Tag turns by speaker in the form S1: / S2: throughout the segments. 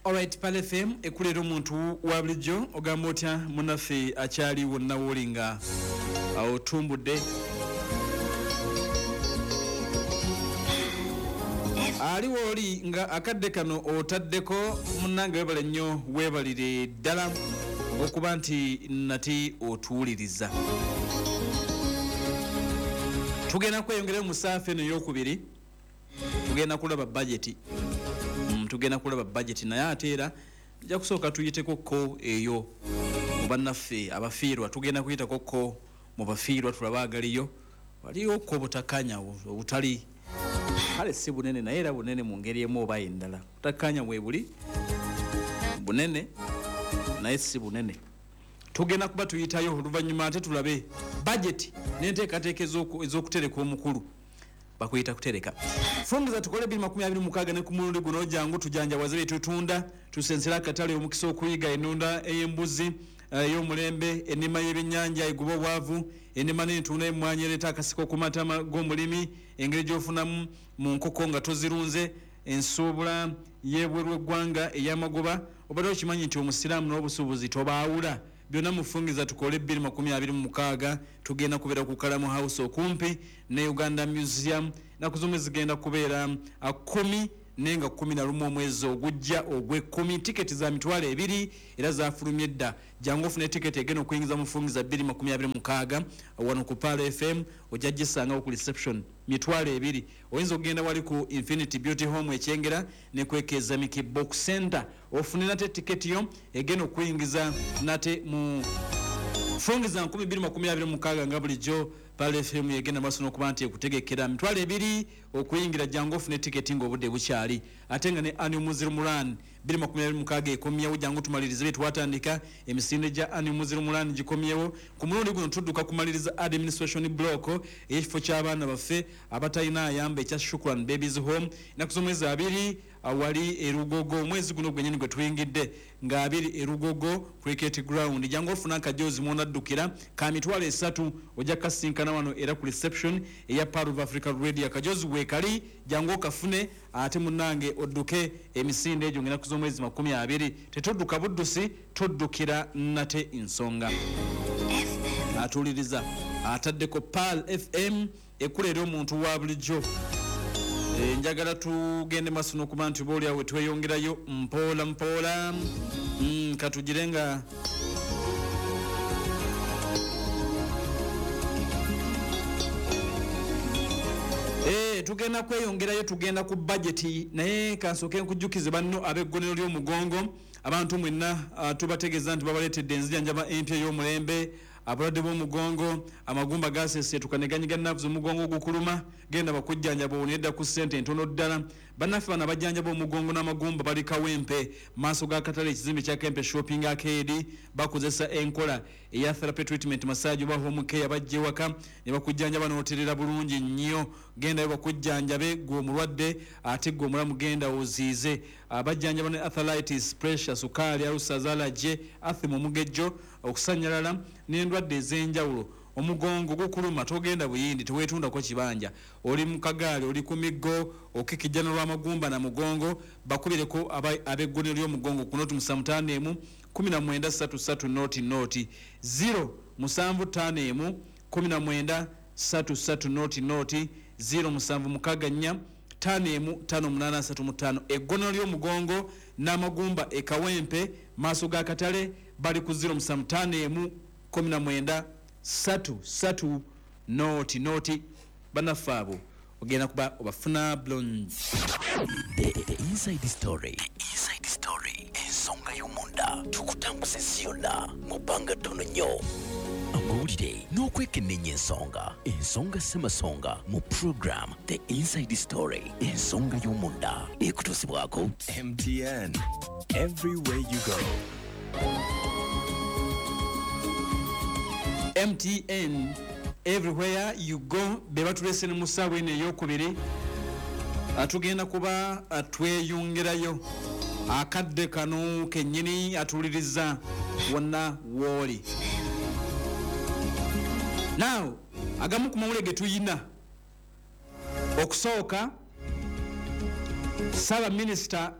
S1: Alright, Pearl FM ekuleera omuntu wa bulijjo. Ogamba otya munnaffe akyali wonna wooli nga otumbudde? Ali wooli nga akadde kano otaddeko munnange, webale nnyo, weebalire ddala okuba nti nati otuwuliriza. Tugenda kweyongerayo mu saafa eno eyokubiri, tugenda kulaba bajeti. Tugenda kulaba bajeti, naye ate era tujja kusooka tuyiteko ko eyo mu bannaffe abafiirwa. Tugenda kuyitako ko mu bafiirwa tulabe agaliyo. Waliyo ko obutakkaanya obutali kale si bunene, naye era bunene mu ngeri emu oba endala. Butakkaanya bwe buli bunene naye si bunene. Tugenda kuba tuyitayo oluvannyuma ate tulabe bajeti n'enteekateeka ez'okutereka omukulu bakuyita kutereka. Fungiza tukole 2026 ne ku mulundi guno jangu tujanjawaze bye tutunda, tusensera akatale, omukisa okuyiga ennunda ey'embuzi ey'omulembe, ennima y'ebyennyanja eguba obwavu, ennima n'entunda y'emmwanyi ereeta akasiko ku matama g'omulimi, engeri gy'ofunamu mu nkoko nga tozirunze, ensuubula y'ebweru w'eggwanga ey'amagoba. Obadde okimanyi nti omusiraamu n'obusuubuzi tobaawula? Byonna mufungiza tukole 2026. Tugenda kubeera ku Kalamu House okumpi ne Uganda Museum. Ennaku z'omwezi zigenda kubeera 10 naye nga 11 omwezi ogujja ogw'ekkumi. Tiketi za 20,000 era zafulumye dda. Jangu ofune tiketi egenda okuyingiza mufungiza 2026 wano ku Pearl FM. Ojja gisangawo ku reception, 20,000. Oyinza okugenda wali ku Infinity Beauty Home Ekyengera ne kwekeza Miki Box Center ofune nate tiketi yo egenda okuyingiza nate mu fungiza 2026. Nga bulijjo Pearl FM yegenda maaso n'okuba nti ekutegekera 20,000 okuyingira. Jangu ofune tiketi ng'obudde bukyali. Ate nga ne Annual Muslim Run 2026 ekomyewo. Jangu tumalirize bye twatandika. Emisinde gya Annual Muslim Run gikomyewo. Ku mulundi guno tudduka kumaliriza administration block ey'ekifo ky'abaana baffe abatalina ayamba ekya Shukran Babies Home. Ennaku z'omwezi 2 awali erugogo, omwezi guno gwennyini gwe tuyingidde, nga 2, erugogo cricket ground. Jangu ofuna akajozi mwonaddukira ka 30,000. Ojja kasinkana wano era ku reception eya Pearl of Africa Radio. Akajozi weekali, jangu okafune ate munnange odduke emisinde egyo ng'ennaku z'omwezi 20. Tetudduka buddusi, tuddukira nate nsonga. Atuuliriza ataddeko Pearl FM ekuleera omuntu wa bulijjo. Njagala tugende maaso n'okuba nti oba oliawe tweyongerayo mpola mpola. Katugire nga tugenda kweyongerayo, tugenda ku bajeti, naye kansooke nkujjukize banno ab'eggonero ly'omugongo. Abantu mwenna tubategeeza nti babaleetedde enzijanjaba empya ey'omulembe. Abalwadde b'omugongo, amagumba gaseseetuka ne ganyiga nerves, omugongo ogukuluma, genda bakujjanjaba onedda ku ssente entono ddala. Bannaffe bano abajjanjaba omugongo n'amagumba bali Kawempe, maaso ga katale, ekizimbe kya Kempe Shopping Arcade. Bakozesa enkola eya therapy treatment, massage oba home care. Bajja ewaka ne bakujjanjaba n'oterera bulungi nnyo. Gendayo bakujjanjabe gwe omulwadde, ate gwe omulamu genda oziize. Bajjanjaba ne arthritis, pressure, sukaali, ulcers, allergy, asthma, omugejjo, okusanyalala n'endwadde ez'enjawulo. Omugongo gukuluma, togenda buyindi, teweetundako kibanja, oli mu kagaali, oli ku miggo, okikijjana lw'amagumba na mugongo, bakubireko ab'eggonero ly'omugongo ku 075 19 33 00, 0 7 5 1 19 33 00, 0 7 6 4 5 1 5 8 3 5. Eggonero ly'omugongo n'amagumba e Kawempe, maaso ga katale, bali ku 0 7 5 1 19 3 3 00. Bannaffe abo ogenda kuba obafuna bulungi.
S2: The Inside Story. The Inside Story. Ensonga y'omunda tukutambuza ensi yonna mu bbanga ttono nnyo. Amawulire n'okwekenneenya ensonga. Ensonga ssemasonga mu program The Inside Story. Ensonga y'omunda ekutuusibwako
S3: MTN. Everywhere you go.
S1: MTN, everywhere you go, be batulese ne mu ssaawa eno eyokubiri. Tugenda kuba tweyongerayo akadde kano kennyini. Atuwuliriza wonna wooli now, agamu ku mawulire ge tuyina okusooka, saabaminisita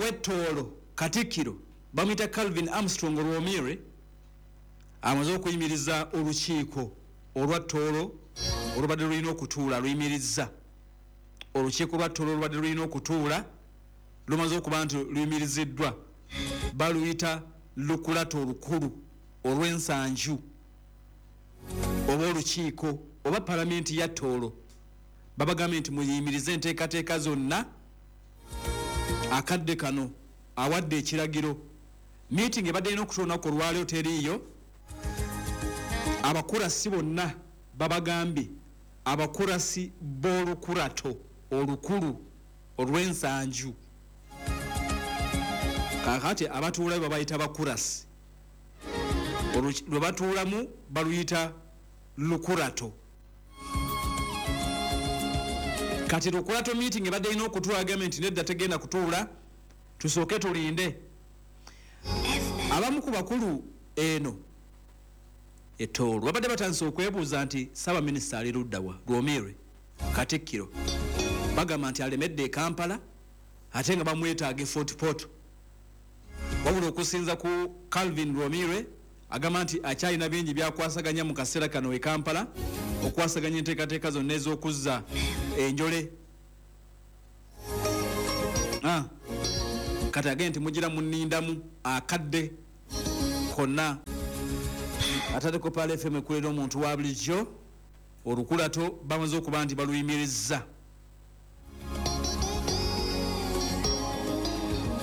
S1: Ow'Ettoolo Katikkiro bamuyita Calvin Armstrong Rwomire amaze okuyimiriza olukiiko olwa Ttoolo olubadde lulina okutuula. Luyimirizza olukiiko lwa Ttoolo olubadde lulina okutuula, lumaze okuba nti luyimiriziddwa. Baluyita Lukulato olukulu olw'ensanju oba olukiiko oba palamenti ya Ttoolo. Babagambye nti muyimirize enteekateeka zonna akadde kano. Awadde ekiragiro, meeting ebadde erina okutuula olunaku olwaleero teriiyo. Abakurasi bonna babagambye, abakurasi b'olukurato olukulu olw'ensanju, kakati abatuulayo babayita bakurasi, lwe batuulamu baluyita lukurato. Kati lukurato meeting ebadde erina okutuula, agambye nti nedda, tegenda kutuula, tusooke tulinde. Abamu ku bakulu eno Ettoolo babadde batandise okwebuuza nti Ssaabaminisita ali luddawa? Rwomire Katikkiro bagamba nti alemedde e Kampala, ate nga bamwetaaga e Fort Portal. Wabula okusinza ku Calvin Rwomire, agamba nti akyalina bingi byakwasaganya mu kaseera kano e Kampala, okwasaganya enteekateeka zonna ez'okuzza enjole. Kati agende nti mugira munindamu akadde konna. Atadeko Pearl FM ekulera omuntu wa bulijjo. Olukulato bamaze okuba nti baluyimirizza.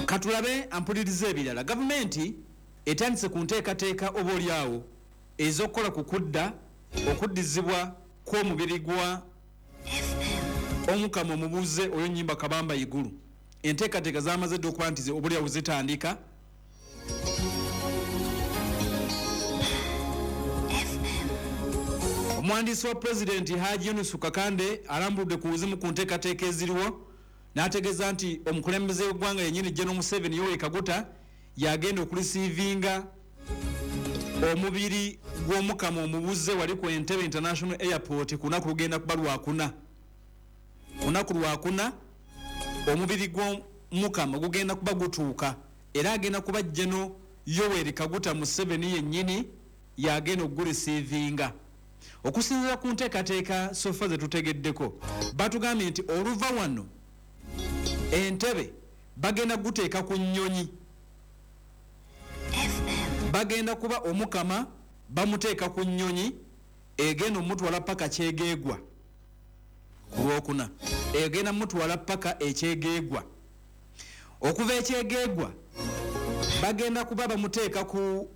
S1: Katulabe ampuliriza ebirala. Gavumenti etandise ku nteekateeka oba oliawo ez'okukola ku kudda okuddizibwa kw'omubiri gwa Omukama omubuuze oyo Nyimba Kabamba Igulu. Enteekateeka zamaze dda okuba nti oba oliawo zitandika. Omuwandiisi wa Pulezidenti Haji Yunusu Kakande alambuludde ku buzimu ku nteekateeka eziriwo, n'ategeeza nti omukulembeze w'eggwanga yennyini General Museveni Yoweri Kaguta yagenda okulisiivinga omubiri gw'Omukama omubuze wali ku Entebbe International Airport ku lunaku lugenda kuba lwakuna. Ku lunaku lwakuna omubiri gw'Omukama gugenda kuba gutuuka, era agenda kuba General Yoweri Kaguta Museveni yennyini yagenda okugulisiivinga. Okusinziira ku nteekateeka sofa ze tutegeddeko, batugambye nti oluva wano Entebbe bagenda guteeka ku nnyonyi, bagenda kuba Omukama bamuteeka ku nnyonyi egenda omutwala paka Kyegeegwa ku Lwokuna, egenda mutwala paka Ekyegeegwa. Okuva Ekyegeegwa bagenda kuba bamuteeka ku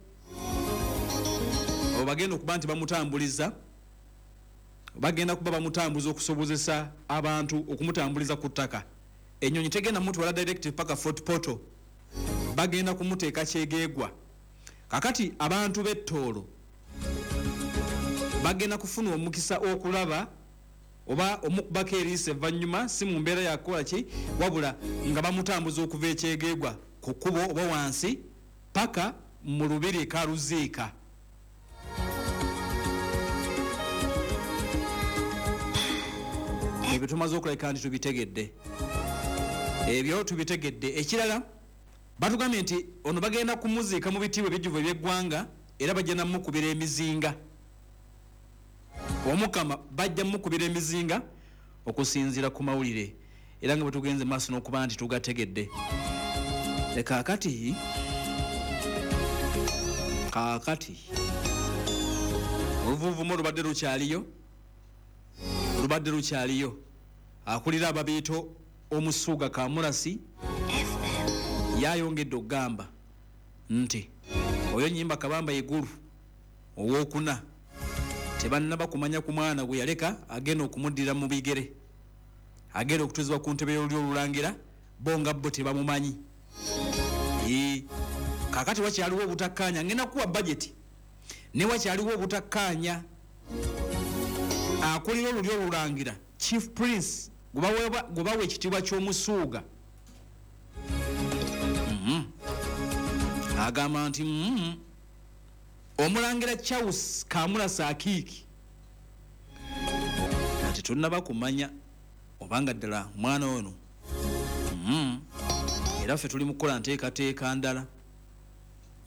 S1: bagenda okuba nti bamutambuliza, bagenda kuba bamutambuza okusobozesa abantu okumutambuliza ku ttaka. Ennyonyi tegenda mutwala direct paka Fort Portal, bagenda kumuteeka Kyegeegwa. Kakati abantu b'Ettoolo bagenda kufuna omukisa okulaba oba omukubako eriiso evvannyuma, si mu mbeera yakukola ki, wabula nga bamutambuza okuva Ekyegeegwa ku kkubo oba wansi paka mu lubiri e Karuziika. Ebyo tumaze okulabika nti tubitegedde, ebyo tubitegedde. Ekirala batugambye nti ono bagenda kumuziika mu bitiibwa ebijjuvu eby'eggwanga, era bajja namukubira emizinga. Omukama bajja mukubira emizinga okusinziira ku mawulire, era nga bwe tugenze maaso n'okuba nti tugategedde. Kaakati oluvuuvumo lubadde lukyaliyo, lubadde lukyaliyo. Akulira ababiito Omusuuga Kamurasi yayongedde okugamba nti oyo Nyimba Kabamba Igulu owokuna tebannaba kumanya ku mwana gwe yaleka agenda okumuddira mu bigere, agenda okutuuzibwa ku ntebe y'olulyo olulangira, bo nga bo tebamumanyi. Kaakati wakyaliwo obutakkaanya, ngenda kuwa bajeti ne wakyaliwo obutakkaanya. Akulira olulyo olulangira Chief Prince gwe bawa ekitiibwa ky'omusuuga agamba nti Omulangira Charles Kamurasi Akiiki ati tunnaba kumanya obanga ddala mwana ono. Era ffe tuli mu kukola nteekateeka ndala.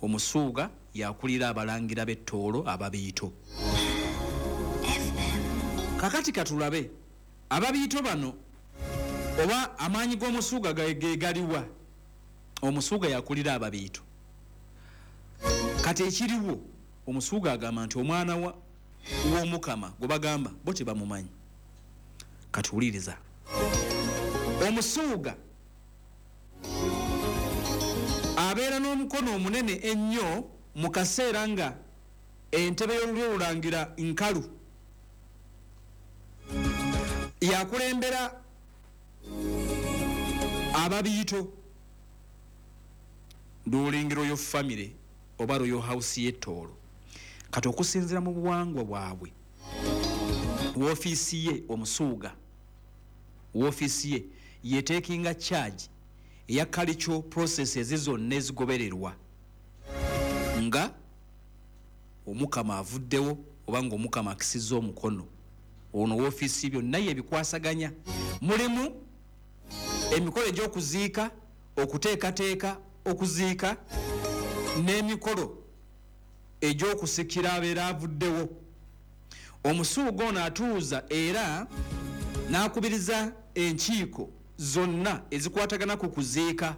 S1: Omusuuga yakulira abalangira b'ettoolo ababiito. Kakati katulabe ababiito bano oba amaanyi g'omusuuga ge galiwa. Omusuuga yakulira ababiito. Kati ekiriwo, omusuuga agamba nti omwana w'omukama gwe bagamba bo tebamumanyi. Kati wuliriza, omusuuga abeera n'omukono omunene ennyo mu kaseera nga entebe y'olulyo olulangira nkalu. Yakulembera ababiito during royal family oba royal house y'ettoolo. Kati okusinziira mu buwangwa bwabwe, woofiisi ye omusuuga, woofiisi ye yeteekinga charge eya cultural processes zonna ezigobererwa nga omukama avuddewo oba ng'omukama akisizza omukono. Ono woofiisi byonna yebikwasaganya. Mulimu emikolo egy'okuziika, okuteekateeka okuziika, n'emikolo egy'okusikira abeera avuddewo. Omusuuga ono atuuza era n'akubiriza enkiiko zonna ezikwatagana ku kuziika,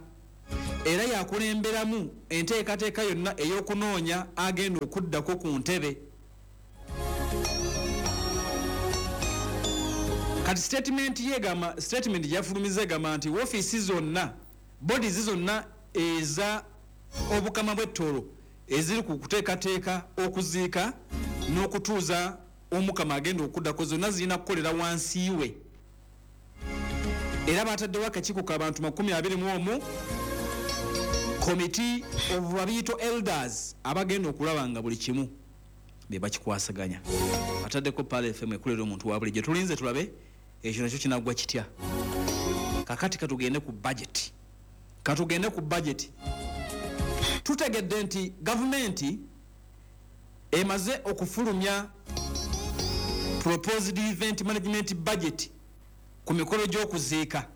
S1: era yakulemberamu enteekateeka yonna ey'okunoonya agenda okuddako ku ntebe. Kati statement yegamba, statement gyafulumiza egamba nti woofiisi zonna, bodies zonna eza obukama bw'ettoolo eziri ku kuteekateeka okuziika n'okutuuza omukama agenda okuddako zonna zirina kukolera wansi we. Era bataddewo akakiiko k'abantu 21, Committee of Babiito Elders, abagenda okulaba nga buli kimu be bakikwasaganya. Ataddeko Pearl FM ekulera omuntu wa bulijjo. Tulinze tulabe ekyo nakyo kinaggwa kitya. Kakati katugende ku budget. Katugende ku budget. Tutegedde nti gavumenti emaze okufulumya proposed event management budget ku mikolo gy'okuziika.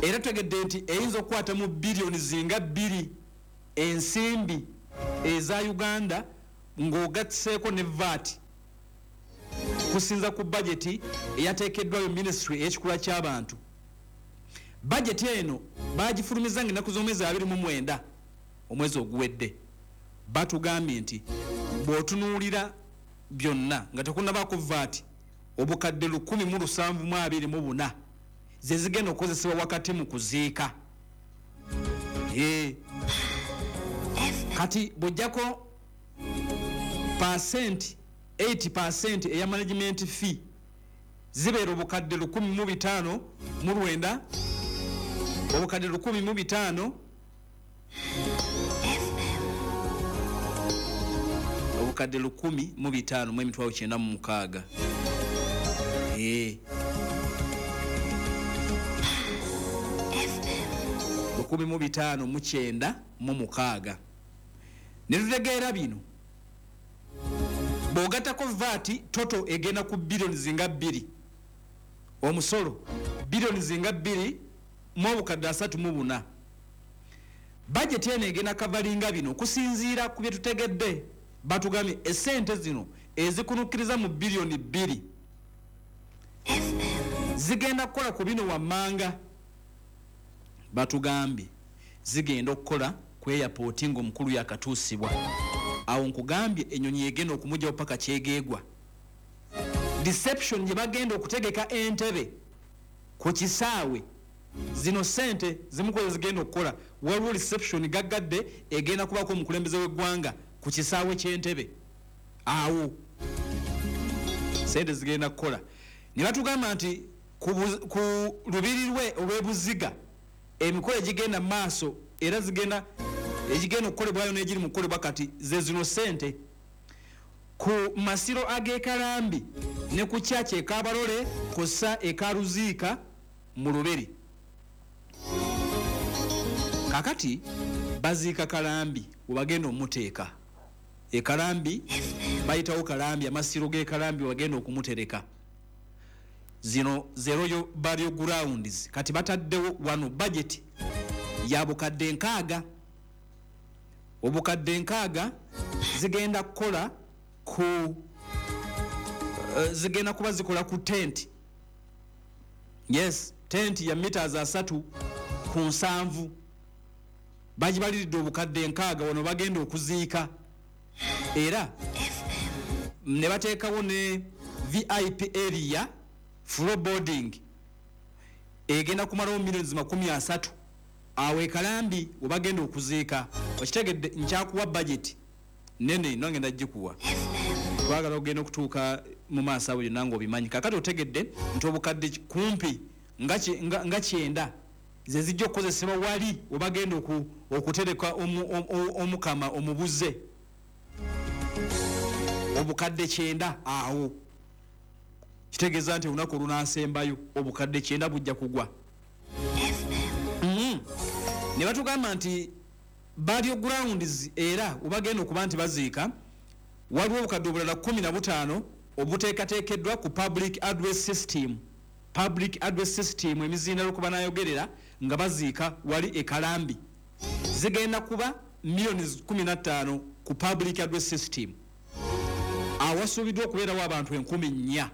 S1: Era tutegedde nti eyinza okukwata mu biliyoni zinga 2 ensimbi eza Uganda ng'ogattiseeko ne VAT, kusinza ku budget eyateekeddwayo ministry ey'ekikula ky'abantu. Budget eno bagifulumiza ng'ennaku z'omwezi 29 omwezi oguwedde. Batugambye nti bw'otunuulira byonna nga tekunnabaako VAT, obukadde 1,724 ze zigenda okukozesebwa wakati mu kuziika. Kati bw'ojjako percent 80% eya management fee, zibeera obukadde 1,059, obukadde 1,005, obukadde 1,005 906. 1,005 906. Ne tutegeera bino, bw'ogattako VAT, total egenda ku biliyoni zinga 2, omusolo biliyoni zinga 2 mu obukadde 34. Bajeti eno egenda kavalinga bino. Okusinziira ku bye tutegedde, batugambye esente zino ezikunukkiriza mu biliyoni 2 zigenda kukola ku bino wammanga. Batugambye zigenda okukola ku airport ng'omukulu yakatuusibwa. Awo nkugambye ennyonyi egenda okumugjawo paka kyegeegwa. Reception gye bagenda okutegeka Entebe ku kisaawe, zino sente zimukoze zigenda okukola. Waliwo reception gaggadde egenda kubako omukulembeze w'eggwanga ku kisaawe ky'Entebe. Awo sente zigenda kukola. Ne batugamba nti ku lubiri lwe olw'ebuziga emikolo egigenda mu maaso era zigenda egigenda okukolebwayo n'egiri mu kukolebwa kati ze zino sente ku masiro ag'ekalambi ne ku kyaki ekabalole kw'ossa ekaluziika mu lubiri. Kakati baziika Kalambi, webagenda omuteeka ekalambi, bayitawo Kalambi, amasiro g'ekalambi webagenda okumutereka. Zino ze Royal Burial Grounds. Kati bataddewo wano budget ya bukadde 60. Obukadde 60 zigenda kukola ku zigenda kuba zikola ku tent. Yes, tent ya meters 3 ku 7. Bagibaliridde obukadde 60 wano bagenda okuziika. Era ne bateekawo ne VIP area floor boarding egenda kumalawo millions 30 awe Kalambi webagenda okuziika. Okitegedde nkyakuwa budget nene nongenda gikuwa. Twagala ogenda okutuuka mu maaso awo yonna ng'obimanyi. Kakati otegedde nti obukadde kumpi nga 90 ze zijja okukozesebwa wali webagenda okutereka omukama omubuze. Obukadde 90 awo kitegeeza nti olunaku olunaasembayo obukadde 90 bujja kugwa. Ne batugamba nti burial grounds era obagenda okuba nti baziika waliwo obukadde obulala 15 obuteekateekeddwa ku public address system. Public address system emizindaalo kuba nayogerera nga baziika wali e Kalambi zigenda kuba millioni 15 ku public address system. Awasuubiddwa okubeerawo abantu 4,000.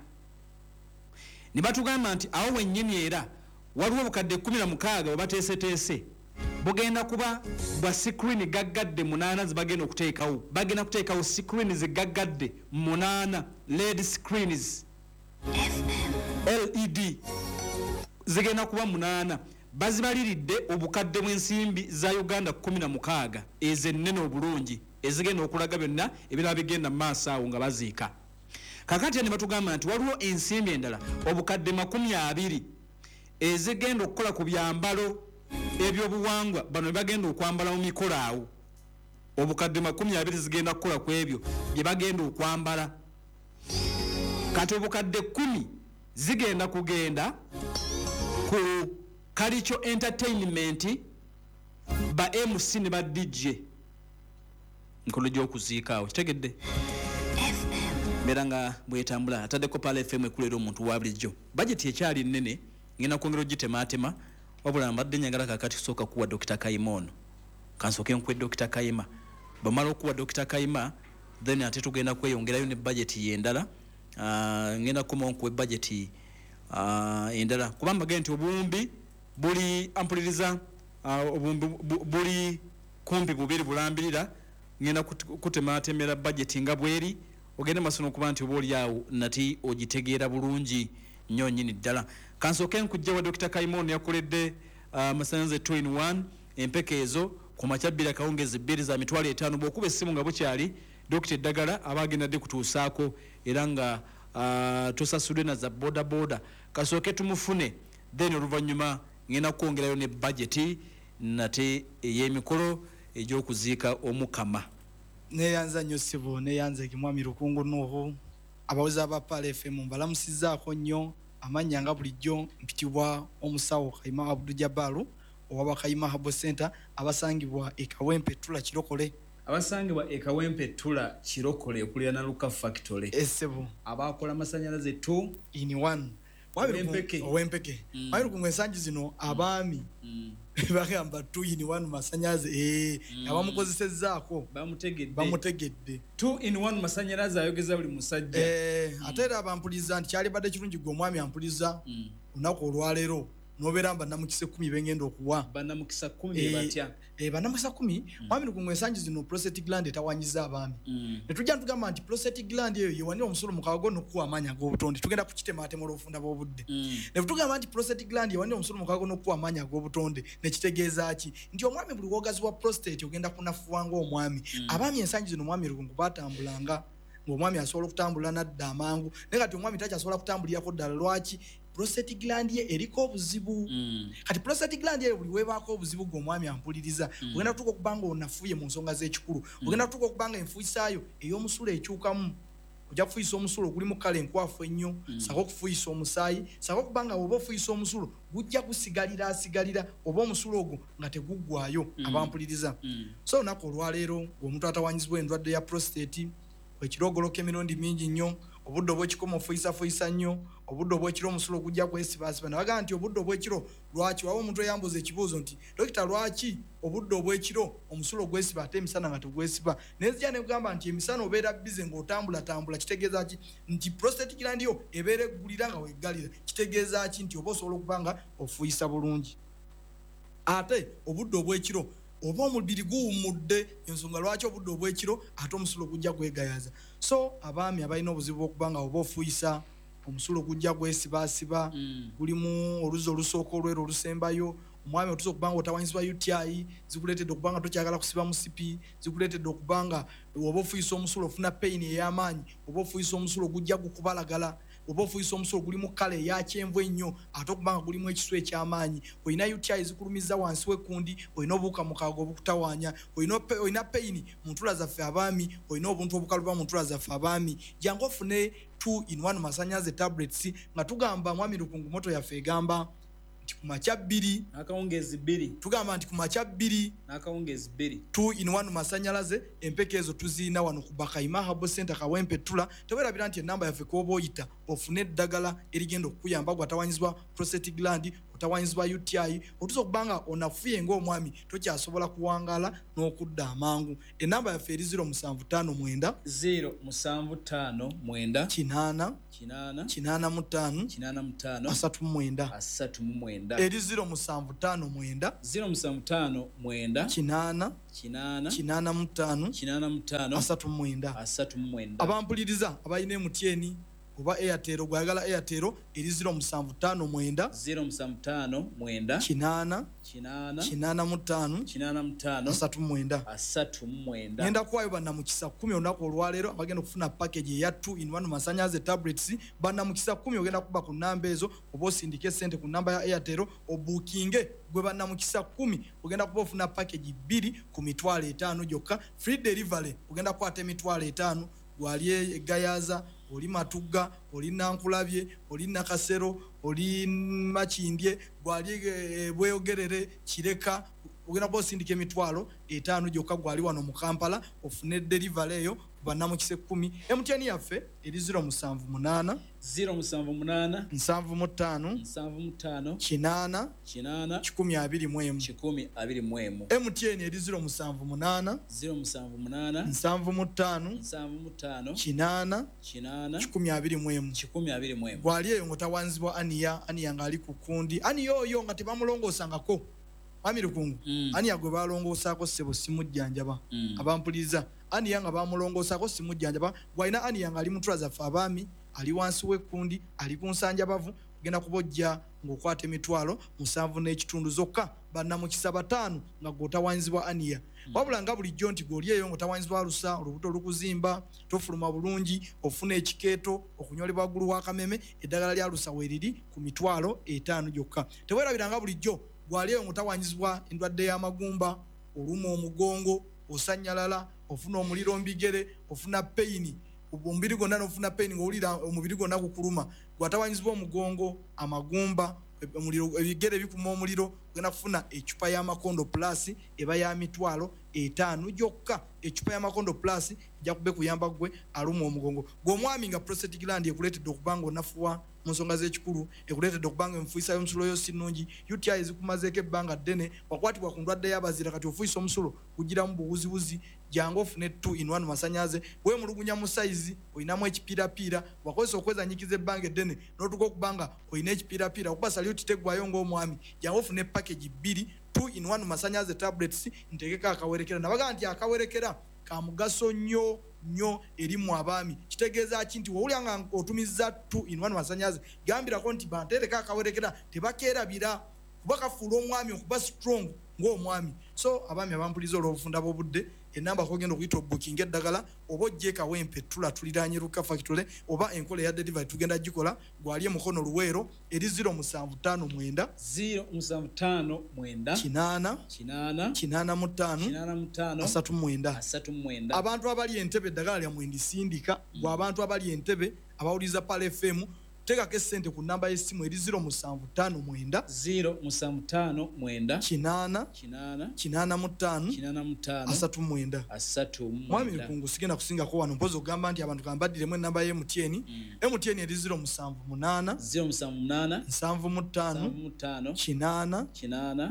S1: Ne batugamba nti awo wennyini era waliwo obukadde 16 bwe bateeseteese bugenda kuba bwa screen gaggadde 8 zibagenda okuteekawo. Bagenda kuteekawo screen zigaggadde 8 LED screens LED zigenda kuba 8. Bazibaliridde obukadde bw'ensimbi za Uganda 16 ezennene obulungi ezigenda okulaga byonna ebirala bigenda mu maaso awo nga baziika. Kakati ne batugamba nti waliwo ensimbi endala obukadde 20 ezigenda okukola ku byambalo ebyobuwangwa bano bagenda okwambala mu mikolo awo. Obukadde 20 zigenda kukola ku ebyo bye bagenda okwambala. Kati obukadde 10 zigenda kugenda ku cultural entertainment ba MC ne ba DJ nkolo gy'okuziika awo. Kitegedde mbeera nga bwetambula. Ataddeko Pearl FM ekulera omuntu wa bulijjo. Budget ekyali nnene, ngenda kwongera ogitemaatema, wabula mbadde njagala kakati kusooka kuwa Dr. Kayima ono. Kansooke nkuwe Dr. Kayima. Bwamala okuwa Dr. Kayima, then ate tugenda kweyongerayo ne budget endala. Ngenda kukomawo nkuwe budget endala kuba mbagende nti obuwumbi buli ampuliriza obuwumbi buli kumpi bubiri bulambirira. Ngenda kutematemera budget nga bweri ogende maaso okuba nti oba oli awo nati ogitegeera bulungi nnyo nnyini ddala. Kansooke nkujja wa Dr. Kayima ono yakoledde amasannyalaze 2 in 1 empeke ezo ku makya 2 akawungeezi 2 za 500,000. Bw'okuba essimu nga bukyali Dr. eddagala aba agenda dde kutuusaako era nga tusasudde na za boda boda. Kasooke tumufune, then oluvannyuma ngenda kwongerayo ne budget nate ey'emikolo egy'okuziika omukama.
S4: Neyanza nnyo ssebo, neyanza Mwami Lukungu Nuhu. Abawuzi aba Pearl FM mbalamusizzaako nnyo. Amannya nga bulijjo mpitibwa omusawo Kayima Abdu Jabalu owa Kayima Herbal Center abasangibwa e Kawempe Ttula Kirokole.
S1: Abasangibwa e Kawempe Ttula Kirokole okuliraana Luka Factory.
S4: Essebo.
S1: Abakola amasannyalaze 2
S4: in 1.
S1: Ow'empeke.
S4: Ow'empeke. Mwami Lukungu ensangi zino abaami bagamba 2 in 1 masannyalaze abamukozesezzaako bamutegedde.
S1: 2 in 1 masannyalaze ayogeza buli musajja.
S4: Ate era abampuliza nti kyalibadde kirungi gwe omwami ampuliza olunaku olwaleero n'obeera bannamukisa 10 bengenda okuwa.
S1: Bannamukisa 10 batya?
S4: Bannamukisa 10 Mwami Lukungu ensangi zino prostate gland etawanyiza abaami. Ne tujja ntugamba nti prostate gland eyo yewanira omusulo mu kawago n'okuwa amaanyi ag'obutonde. Tugenda kukitemaatema olw'obufunda bw'obudde. Ne tugamba nti prostate gland yewanira omusulo mu kawago n'okuwa amaanyi ag'obutonde. Ne kitegeeza ki? Nti omwami buli w'ogazibwa prostate ogenda kunafuwa ng'omwami. Abaami ensangi zino Mwami Lukungu batambulanga ng'omwami asobola okutambula n'adda amangu. Naye kati omwami takyasobola kutambulirako ddala. Lwaki? Prostate gland ye eriko obuzibu. Kati prostate gland ye buli webaako obuzibu gw'omwami ampuliriza ogenda kutuuka okuba nga onafuye mu nsonga z'ekikulu. Ogenda kutuuka okuba nga enfuisaayo ey'omusulo ekyukamu. Ojja kufuuyisa omusulo ogulimu kale enkwafu ennyo, ssaako okufuuyisa omusaayi, ssaako okuba nga bw'oba ofuuyisa omusulo gujja gusigalira asigalira oba omusulo ogwo nga teguggwayo. Abampuliriza. So olunaku olwaleero ng'omuntu atawanyizibwa endwadde ya prostate, ekirogoloko emirundi mingi nnyo, Obudde obw'ekikomo ofuyisafuyiisa nnyo. Obudde obw'ekiro omusulo gujja kwesibaasiba. Nabagaa nti obudde obw'ekiro lwaki? Wawa omuntu eyambuuza ekibuuzo nti, dokita, lwaki obudde obw'ekiro omusulo gwesiba ate emisana nga tegwesiba? Naye nzija ne kugamba nti emisana obeera busy ng'otambulatambula. Kitegeeza ki? Nti prostate gland yo ebeera eggulira nga weggalira. Kitegeeza ki? Nti oba osobola okuba nga ofuuyisa bulungi. Ate obudde obw'ekiro oba omubiri guwummudde, ensonga lwaki obudde obw'ekiro ate omusulo gujja gwegayaza. So abaami abalina obuzibu bw'okuba nga oba ofuuyisa omusulo gujja gwesibaasiba, gulimu oluzzi olusooka, olweru, olusembayo, omwami otuusa okuba nga otawanyizibwa UTI, zikuleetedde okuba nga tokyagala kusiba musipi, zikuleetedde okuba nga oba ofuuyisa omusulo ofuna pain ey'amaanyi, oba ofuuyisa omusulo gujja gukubalagala, oba ofuuyisa omusulo gulimu colour eyakyenvu ennyo ate okuba nga gulimu ekisu eky'amaanyi, olina UTI zikulumiza wansi w'ekkundi, olina obuwuka mukaaga obukutawaanya, olina pain mu ntula zaffe abaami, olina obuntu obukaluba mu ntula zaffe abaami, jangu ofune 2 in 1 masanyaze tablets. Nga tugamba, mwami Lukungu, motto yaffe egamba nti ku makya 2
S1: N'akawungeezi 2.
S4: Tugamba nti ku makya 2
S1: N'akawungeezi 2.
S4: 2 in 1 masanyalaze. Empeka ezo tuziina wano ku Bakaima Herbal Center, Kawempe Tula. Tewerabira nti enamba yaffe kwoba oyita ofune eddagala erigenda okukuyamba gwatawanyizibwa prostate gland, otawanyizibwa UTI, otuusa okuba nga onafuye ng'omwami tokyasobola kuwangaala n'okudda amangu. Enamba yaffe eri 0759
S1: 0759
S4: 80
S1: 80
S4: 85
S1: 85
S4: 39.
S1: 39.
S4: Eri 0759
S1: 0759
S4: 80
S1: 80
S4: 85
S1: 85
S4: 39.
S1: 39.
S4: Abampuliriza abalina MTN oba Airtel, gwayagala Airtel eri 0759
S1: 0759
S4: 80
S1: 80
S4: 85
S1: 85
S4: 39.
S1: 39.
S4: Ngenda kuwaayo bannamukisa 10 olunaku olwaleero abagenda okufuna package eya 2 in 1 masanyaze tablets. Bannamukisa 10, ogenda kuba ku namba ezo oba osindike sente ku namba ya Airtel obuukinge. Gwe bannamukisa 10 ogenda kuba ofuna package 2 ku 500,000 gyokka, free delivery. Ogenda kukwata 500,000. Gwali egayaza, oli Matugga, oli Nankulabye, oli Nakasero, oli Makindye, gwali Bweyogerere, Kireka, ogenda kuba osindika 500,000 gyokka. Gwali wano mu Kampala ofune delivery eyo. Bannamukisa 10, MTN yaffe eri 078
S1: 078
S4: 75
S1: 75
S4: 80
S1: 80
S4: 121.
S1: 121.
S4: MTN eri 078
S1: 078
S4: 75
S1: 75
S4: 80
S1: 80
S4: 121.
S1: 121.
S4: Gwali eyo ng'otawanzibwa hernia, hernia ng'ali ku kundi, hernia oyo nga tebamulongoosangako, mwami Lukungu, hernia gwe balongoosaako, ssebo, simujjanjaba. Abampuliriza, hernia nga bamulongoosaako simujjanjaba. Gwalina hernia ng'ali mutula zaffe abaami, ali wansi w'ekkundi, ali ku nsanjabavu, ogenda kuba ojja ng'okwata 7,500 zokka. Bannamukisa 5 nga gw'otawanzibwa hernia. Wabula nga bulijjo nti gw'oli eyo ng'otawanzibwa alusa, olubuto olukuzimba, tofuluma bulungi, ofuna ekikeeto, okunyolebwa waggulu w'akameme, eddagala lya lusa weeriri ku 500,000 gyokka. Teweerabira nga bulijjo gwali eyo ng'otawanyizibwa endwadde y'amagumba, oluma omugongo, osanyalala, ofuna omuliro mu bigere, ofuna pain omubiri gwonna, n'ofuna pain ng'owulira omubiri gwonna gukuluma, gwatawanyizibwa omugongo, amagumba, omuliro, ebigere bikuma omuliro, ogenda kufuna ecupa y'amakondo plus, eba ya 500,000 gyokka. Ecupa y'amakondo plus ejja kuba ekuyamba ggwe aluma omugongo. Gwe omwami nga prostate gland ekuleetedde okuba nga onafuwa mu nsonga z'ekikulu, ekuleetedde okuba nga enfuisa y'omusulo yo si nnungi, UTI zikumazeeko ebbanga ddene, wakwatibwa ku ndwadde y'abazira, kati ofuisa omusulo gugiramu buwuziwuzi, jangu ofune 2 in 1 masanyaze. Weemulugunya mu sayizi, olinamu ekipiirapiira, wakozesa okwezanyikiza ebbanga eddene n'otuuka okuba nga olina ekipiirapiira, okuba saluti teggwayo ng'omwami, jangu ofune package 2 2 in 1 masanyaze tablets. Ntegeka akawerekera. Nabagaa nti akawerekera ka mugaso nnyo nnyo eri mu abaami. Kitegeeza ki? Nti wowulya nga otumiza 2 in 1 masanyaze, gambirako nti banteereko akawerekera, tebakeerabira kuba kafuula omwami okuba strong ng'omwami. So abaami abampuliza, olw'obufunda bw'obudde, enamba kogenda okuyita obukinga eddagala oba ojje Kawempe Tula, tuliranye Luka Factory, oba enkola eya delivery tugenda gikola. Gwali emukono Luweero eri 0759
S1: 0759
S4: 80
S1: 80
S4: 85
S1: 85
S4: 39.
S1: 39.
S4: Abantu abali Entebe, eddagala lyammwe ndisindika. Gwe abantu abali Entebe abawuliriza Pal FM, Teekako essente ku namba y'essimu eri 0759
S1: 0759
S4: 8
S1: 8
S4: 85
S1: 85
S4: 39.
S1: 39.
S4: Mwami Lukungu, sigenda kusingako wano, mpozi okugamba nti abantu kambaddiremu enamba ya MTN. MTN eri 078
S1: 078
S4: 75
S1: 75
S4: 8
S1: 8
S4: 121.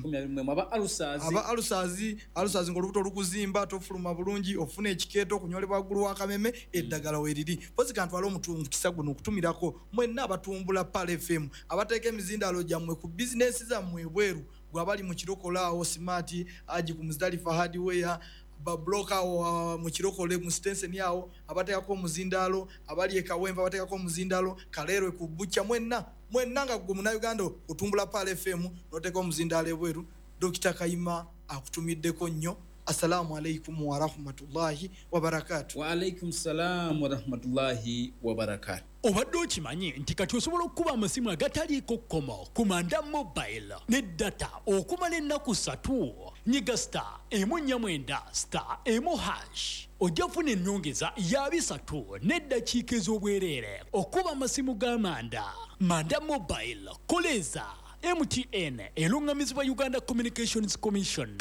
S1: 121. Aba alusazi?
S4: Aba alusazi, alusazi ngaolubuto olukuzimba, tofuluma bulungi, ofuna ekikeeto, okunyolebwa waggulu w'akameme, eddagala weriri. Mpozi kantwale omukisa guno okutumirako mwenna abatumbula Pearl FM, abateeka emizindaalo gyammwe ku bizinesi zammwe ebweru. Gwe abali mu Kirokole awo, Smart Aji ku Muzidalifa Hardware, babloka awo mu Kirokole mu Stenseni awo, abateekako omuzindaalo, abali e Kawempe abateekako omuzindaalo, Kaleerwe ku Bukya, mwenna mwenna nga gwe Munnayuganda otumbula Pearl FM n'oteeka omuzindaalo ebweru, Dokita Kayima akutumiddeko nnyo. Assalamu alaikum warahmatullahi wabarakatu.
S1: Wa alaikum salam warahmatullahi wabarakatu.
S5: Obadde okimanyi nti kati osobola okukuba amasimu agataliiko kkomo ku Manda Mobile ne data okumala ennaku 3? Nyiga star 149 star 1 hash, ojja kufuna ennyongeza ya 30 n'eddakiika ez'obwereere okuba amasimu ga Manda. Manda Mobile, koleza MTN, eruŋŋamizibwa Uganda Communications Commission.